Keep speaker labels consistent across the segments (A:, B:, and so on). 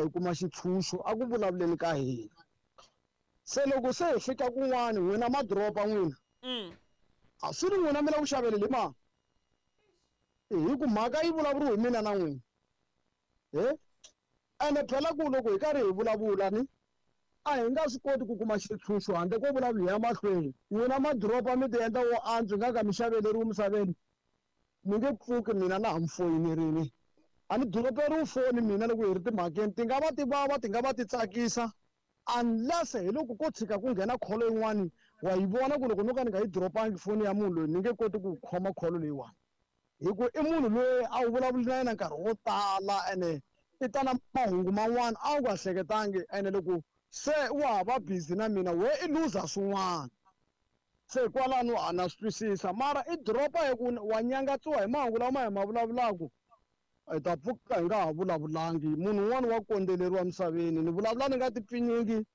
A: hi kuma xitshunxo a ku vulavuleni ka hina. Se loko se hi fika kun'wani n'wina ma drop-a n'wina. A swi ri n'wina mi la ku xaveleli hi mani? Hi ku mhaka yi vulavuriwe hi mina na n'wina. He? Ene phela ku loko hi karhi hi vulavula ni a hi nga swi koti ku kuma xitshunxo handle ko vulavula hi ya mahlweni. N'wina ma drop-a mi ti endla wo antswa nga ka mi xaveleriwi misaveni. Mi nge pfuki mina na ha mi foyinerini. A ni droperiwi foni mina loko hi ri timhakeni ti nga va ti vava ti nga va ti tsakisa unless hi loko ko tshika ku nghena kholo yin'wani wa yi vona ku loko no ka ni nga yi dropangi foni ya munhu loyi ni nge koti ku khoma kholo leyiwani hi ku i munhu loyi a wu vulavuli na yena nkarhi wo tala ene i ta na mahungu man'wana a wu nga hleketangi ene loko se wa ha va busy na mina we i luza swin'wana se kwalano a na swi twisisa mara i dropa hi ku wa nyangatsiwa hi mahungu lama hi ma vulavulaka hi ta pfuka hi nga ha vulavulangi munhu un'wana wa kondzeleriwa misaveni ni vulavula ni nga ti pfinyingi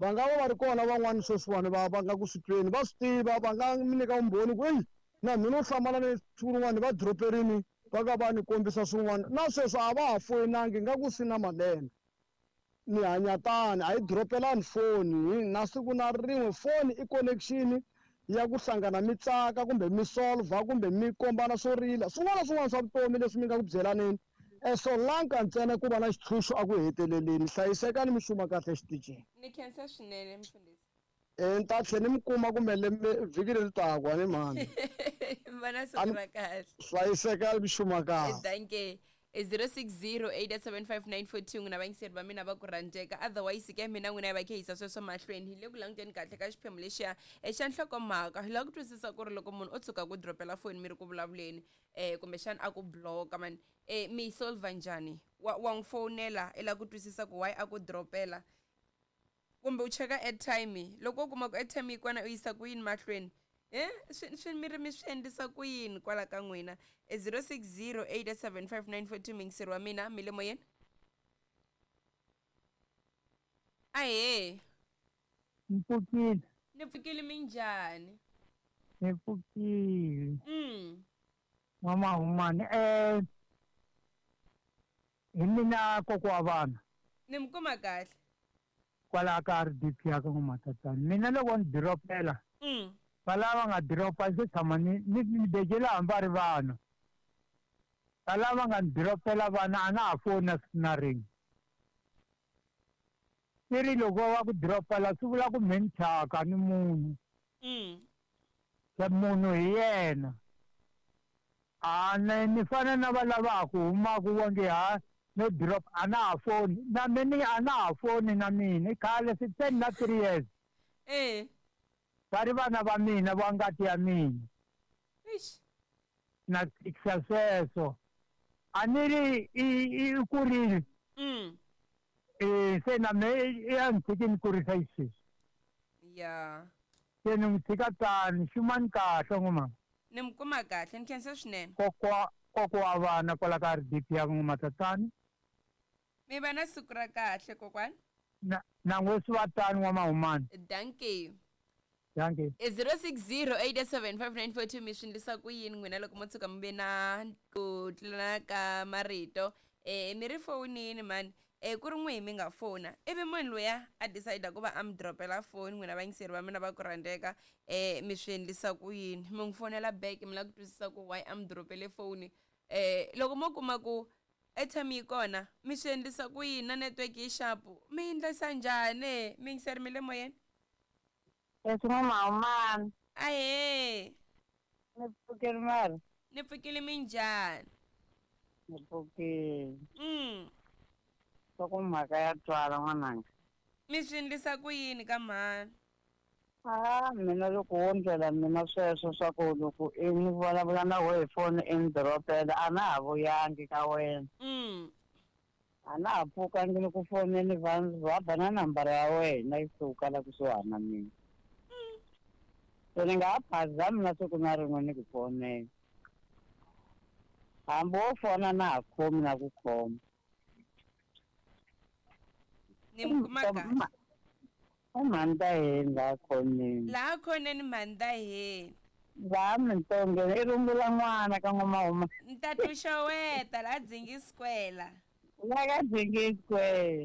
A: va nga va va ri kona van'wani sweswiwani va va nga ku swi tweni va swi tiva va nga mi nyika vumbhoni ku eyi na mina u hlamala ni siku rin'wana va droperini va ka va ni kombisa swin'wana na sweswo a va ha foyinangi nga ku swi na malembe ni hanya tani a yi dropelani foni na siku na rin'we foni i connection ya ku hlangana mi tsaka kumbe mi solver kumbe mi kombana swo rila swin'wana na swin'wana swa vutomi leswi mi nga ku byelaneni solanka ntsena ku va na xitshunxo a ku heteleleni hlayisekani mi xuma kahle exitichini.
B: Ni khensa swinene mfundhisi.
A: Ni ta tlhela ni mi kuma kumbe lembe vhiki leri taka ni mhani.
B: Va na siku ra kahle.
A: Hlayisekani mi xuma kahle.
B: Dankie. 0608755942 n'wina vayingiseri va mina va ku rhandzeka otherwise ke mina n'wina hi va khe yisa sweswo mahlweni hi le ku languteni kahle ka xiphemu lexiya xa nhlokomhaka hi lava ku twisisa ku ri loko munhu o tshuka ku dropela foni mi ri ku vulavuleni um kumbexana a ku bloka mani um mi yi solver njhani wa wa n'wi fowunela i lava ku twisisa ku why a ku dropela kumbe u cheka airtime loko u kuma ku airtime yi kona u yisa ku yini mahlweni e swi swi mi ri mi swi endlisa ku yini kwala ka n'wina e 060 875 mingiseri wa mina mi le moyeni ahee.
C: Ni pfukile.
B: Ni pfukile minjhani?
C: Ni pfukile. N'wamahumani hi mina kokwa wa vana.
B: Ni mi kuma kahle.
C: Kwalaha ka RDP ya ka N'wamatatani. Mina loko ni diropela va lava nga diropa se tshama ni ni ni bejela hambi va ri vana. Va lava nga ni diropela vana a na ha foni na siku na rin'we. Swi ri loko va ku diropela swi vula ku mhe ni thyaka ni munhu. Se munhu hi yena. A ni ni fana na va lava ha ku humaka va nge ha no drop a na ha foni na me ni a na ha foni na mina i khale se se ni na 3 years. Va ri vana va mina va ngati ya mina.
B: Eish.
C: Na tshikisa sweswo. A ni ri i i kurile. Se na me i a ni tshiki ni kurisa xisweswi.
B: Ya.
C: Se ni n'wi tshika tani, xumani kahle n'wamama.
B: Ni mi kuma kahle, ni khensa swinene.
C: Kokwa kokwa wa vana kwala ka RDP ya N'wamatatani.
B: Mi va na siku ra kahle kokwani.
C: Na na n'we swi va tani N'wamahumani.
B: Dankie.
C: Dankie.
B: 06087594 mi swi endlisa ku yini n'wina loko mo tshuka mi ve na ku tlulana ka marito mi ri fowunini mani ku ri n'wihi mi nga fona ivi munhu luya a decide ku va a mi dropela foni n'wina vayingiseri va mina va ku rhandzeka mi swi endlisa ku yini mi n'wi fonela back mi lava ku twisisa ku why a mi dropele foni loko mo kuma ku airtime yi kona mi swi endlisa ku yini na network yi xapu mi endlisa njhani miyingiseri mi le moyeni.
D: Sesi N'wamahumani.
B: Ahee.
D: Ni pfukile mara.
B: Ni pfukile minjhani?
D: Ni pfukile. Swa ku mhaka ya twala n'wananga.
B: Mi swi endlisa ku yini ka mhani?
D: A mina loko wo ndlela mina sweswo swa ku loko i ni vulavula na wehe hi foni i ni dropela a na ha vuyangi ka wena. A na ha pfukangi ni ku foneni va va ba na nambara ya wena yi suka la kusuhani na mina. Se ni nga ha phazami na siku na rin'we ni ku fonela. Hambi wo fona na ha khomi na ku khoma.
B: Ni mi kuma kahle.
D: I mhani ta heni laha khoneni.
B: Laha khoneni mhani ta heni.
D: Laha Mintongeni i rungula n'wana ka N'wamahuma.
B: Ni ta tu xeweta laha Dzingi Square la.
D: La ka Dzingi Square.